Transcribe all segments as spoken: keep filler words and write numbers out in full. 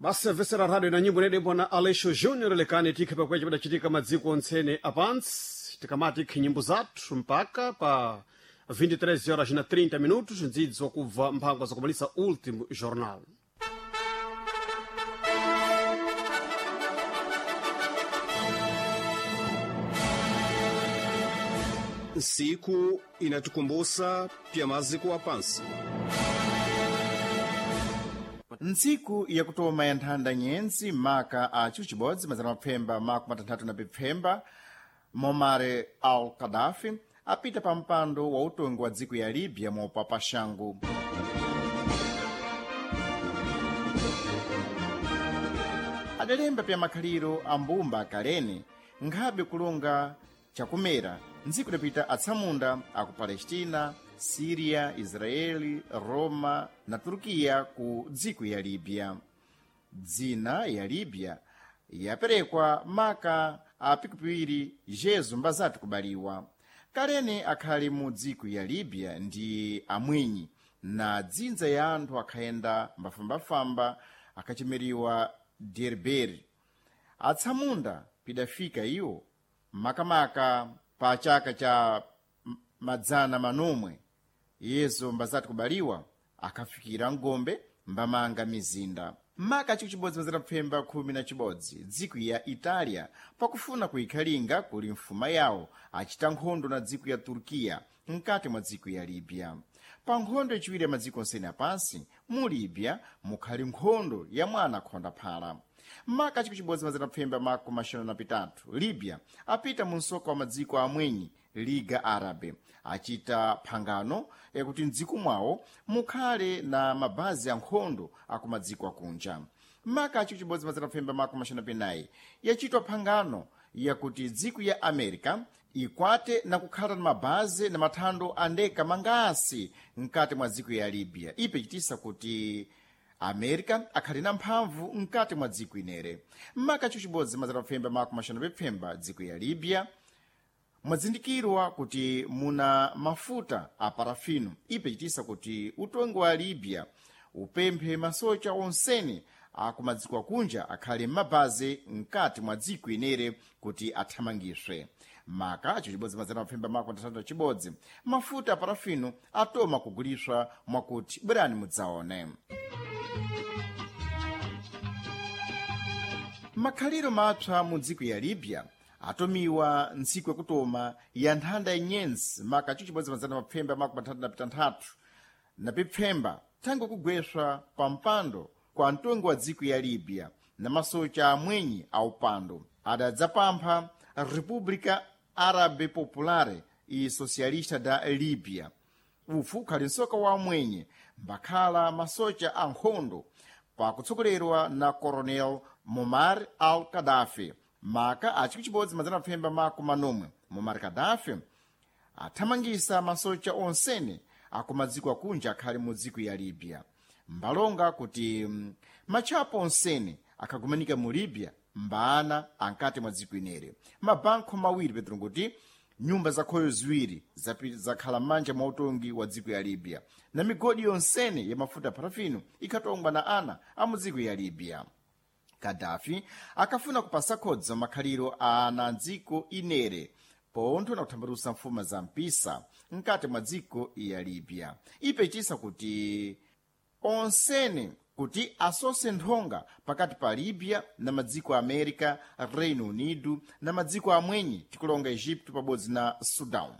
Basi vesera radio na nyimbo inedembwa na Aleixo Júnior lekani tikhe pakweche padachitika madziko ontsene apansi tikamati ikhe nyimbo zathu mpaka pa vinte e três horas na trinta minutos ndzidzo kubva mphangwa zakumalisa último jornal. Siku inatukumbusa pya maziko a pansi. Ntsiku yakutoma ya nthanda nyenzi maka a ciucibodzi mazana mapfemba makumi atanthatu na pipfemba, Muammar al-Gaddafi apita pa mpando wa utongi wa dziko ya Libya mopa paxangu. Adalemba pya makhaliro a mbumba akalene nkhabe kulonga chakumera ntsiku idapita atsamunda aku Palestina, Síria, Israeli, Roma na Turkiya ku dziko ya Libya. Dzina ya Libya yaperekwa maka a pikupiwiri Jesu mbazati kubaliwa. Kalene akhali mu dziko ya Libya ndi amwenyi na dzinza ya anthu akhayenda mbafambafamba akhachimeriwa Derberi. Atsamunda pidafika iwo makamaka pa chaka cha madzana manomwe Yesu mbazati kubaliwa akafikira ngombe mbamanga mizinda. Maka chikuchibodzi mazana pfemba khumi na chibodzi dziko ya Italia pakufuna kuikhalinga kuli mfuma yawo achita nkhondo na dziko ya Turkiya mkati mwa dziko ya Libya. Pa nkhondo yachiwiri ya madziko onsene apansi mu Libya mukhali nkhondo ya mwana khonda phala. Maka chikuchibodzi mazana pfemba makumi axanu na pitatu Libya apita mu msoka wa madziko amwenyi Liga Árabe achita phangano yakuti mdziko mwawo mukhale na mabazi ankhondo akumadziko akunja. Maka chikuchibodzi mazana pfemba makumi axanu na pinayi yachitwa phangano yakuti dziko ya America ikwate na kukhala na mabazi na mathando andeka mangasi mkati mwa dziko ya Libya, ipe chitisa kuti America akhali na mphamvu mkati mwa dziko inere. Maka chikuchibodzi mazana pfemba makumi axanu na pipfemba dziko ya Libya mwazindikirwa kuti muna mafuta a parafino, ipe chitisa kuti utongi wa Libya upemphe masocha onsene akumadziko akunja akhale m'mabazi mkati mwa dziko inere kuti athamangiswe. Maka chibodzi mazana mapfemba makumi atatu na chibodzi mafuta a parafino atoma kuguliswa mwakuti bwerani mudzaone. Makhaliro mapsa mu dziko ya Libya atomiwa ntsiku yakutoma ya nthanda inyenzi maka chibodzi mazana mapfemba makumi atatu na pitanthatu na pipfemba thango kugweswa pa mpando kwa mtongi wa dziko ya Libya na masocha amwenyi a upando adadzapampha República Árabe Popular e Socialista da Libya. Ufu ukhali msoka wa amwenye mbakhala masocha a nkhondo pakutsogolerwa na Coronel Muammar al-Gaddafi. Maka a chikuchibodzi mazana pfemba makumi manomwe Muammar Gaddafi athamangisa masocha onsene akumadziko akunja akhali mu dziko ya Libya, mbalonga kuti matchapo onsene akhagumanika mu Libya mbaana ankati mwa dziko inere. Mabankho mawiri petro kuti nyumba zakhoyo ziwiri zakhala m'manja mwa utongi wa dziko ya Libya na migodi yonsene ya mafuta parafino ikhatongwa na ana a mu dziko ya Libya. Gaddafi akafuna kupasa khodzo makhaliro a ana dziko inere pontho na kuthambalusa mfuma za mpisa mkati mwa dziko ya Libya, ipe chitisa kuti onsene kuti asose nthonga pakati pa Libya na madziko a America, Reino Unido na madziko amwenyi tikulonga Egipto pabodzi na Sudan.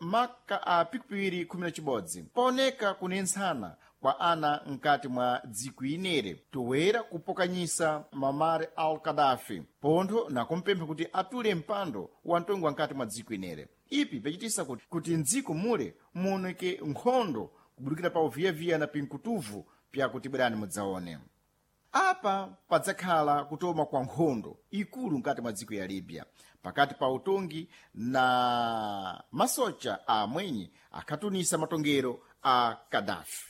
Maka a pikipiri khumi na chibodzi paoneka kunentsana kwa ana mkati mwa dziko inere toera kupokanyisa Muammar al-Gaddafi pontho nakumpempha kuti atule mpando wa mtongi wa mkati mwa dziko inere, ipi pachitisa kuti, kuti mdziko mule muoneke nkhondo kubudikira pa uviyaviya na pinkutuvu pyakuti bwerani mudzaone. Apa padzakhala kutoma kwa nkhondo ikulu mkati mwa dziko ya Libya pakati pa utongi na masocha a amwenyi akhatunisa matongero a Gaddafi.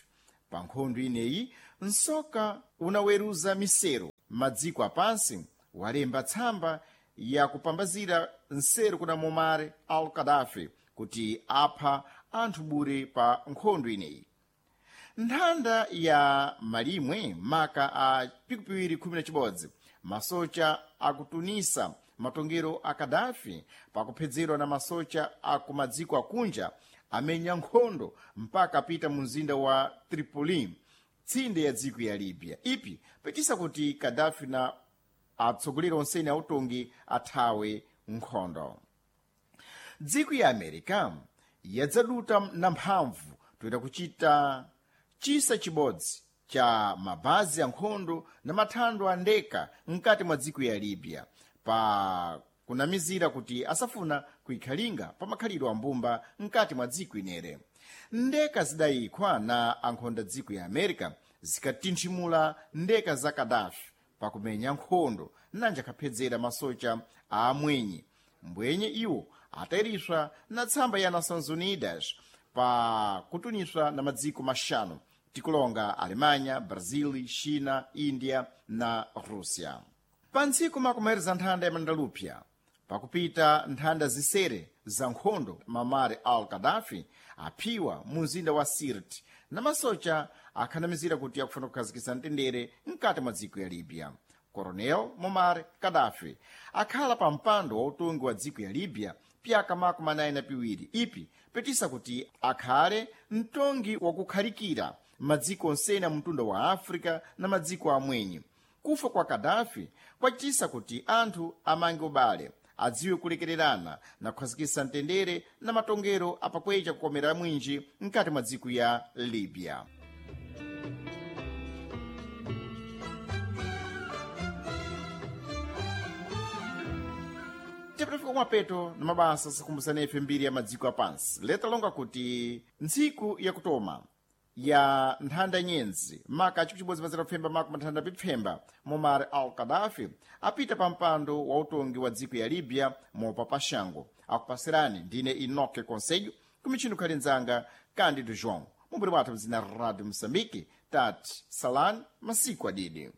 Pa nkhondo ineyi msoka unaweruza misero madziko apansi walemba tsamba Yakupambazira nseru kuna Muammar al Gaddafi kuti apha anthu bure pa nkhondo ineyi. Nthanda ya malimwe maka a pikupiri khumi na chibodzi masocha akutunisa matongero a Kadafi pakuphedzerwa na masocha akumadziko akunja amenya nkhondo mpaka apita mu mzinda wa Tripoli, tsinde ya dziko ya Libya, ipi pachisa kuti Kadafi na atsogoleri onsene autongi athawe nkhondo. Dziko ya America yadzaduta na mphamvu toyita kuchita chisa chibodzi cha mabazi a nkhondo na mathando a ndeka mkati mwa dziko ya Libya pa kunamizira kuti asafuna kuikhalinga pa makhalidwe a mbumba mkati mwa dziko inere. Ndeka zidayikhwa na ankhonda dziko ya America zikatinthimula ndeka za Kadafi pakumenya nkhondo nanja akhapedzera masocha a amwenye mbwenye iwo atayiriswa na tsamba ya Nações Unidas pa kutuniswa na madziko maxanu tikulonga Alemanha, Brazil, China, India na Rússia. Pa ntsiku makumaeriza nthanda ya Mandalupya pakupita nthanda zisere za nkhondo, Muammar al Gaddafi aphiwa mu mzinda wa Sirte na masocha akhanamizira kuti akufuna kukhazikitsa mtendere mkati mwa dziko ya Libya. Coronel Muammar Gaddafi akhala pa mpando wa utongi wa dziko ya Libya pyaka makumi anayi na piwiri, ipi petisa kuti akhale mtongi wakukhalikira madziko onsene mtunda wa Africa na madziko amwenye. Kufa kwa Kadafi kwachitisa kuti anthu amange ubale, adziwe kulekererana na kukhazikitsa mtendere na matongero apakwecha kukomera mwinji mkati mwa dziko ya Libya. Tipitafika kumapeto na mabasa sakumbusana ife mbiri ya madziko apansi leta longa kuti ntsiku yakutoma ya nthanda nyenzi maka chikuchibodzi mazira kupfemba maka mathanda pipfemba Muammar al Gaddafi apita pa mpando wa utongi wa dziko ya Libya mopa pashango. Akupasirani ndine Enoque Conselho kumichini khali nzanga Cândido João mumburi wathu mzina Radio Moçambique tati salani masiku adidi.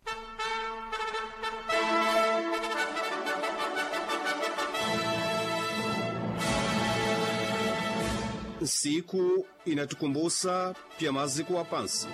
Nsiku inatukumbusa pya maziko apansi.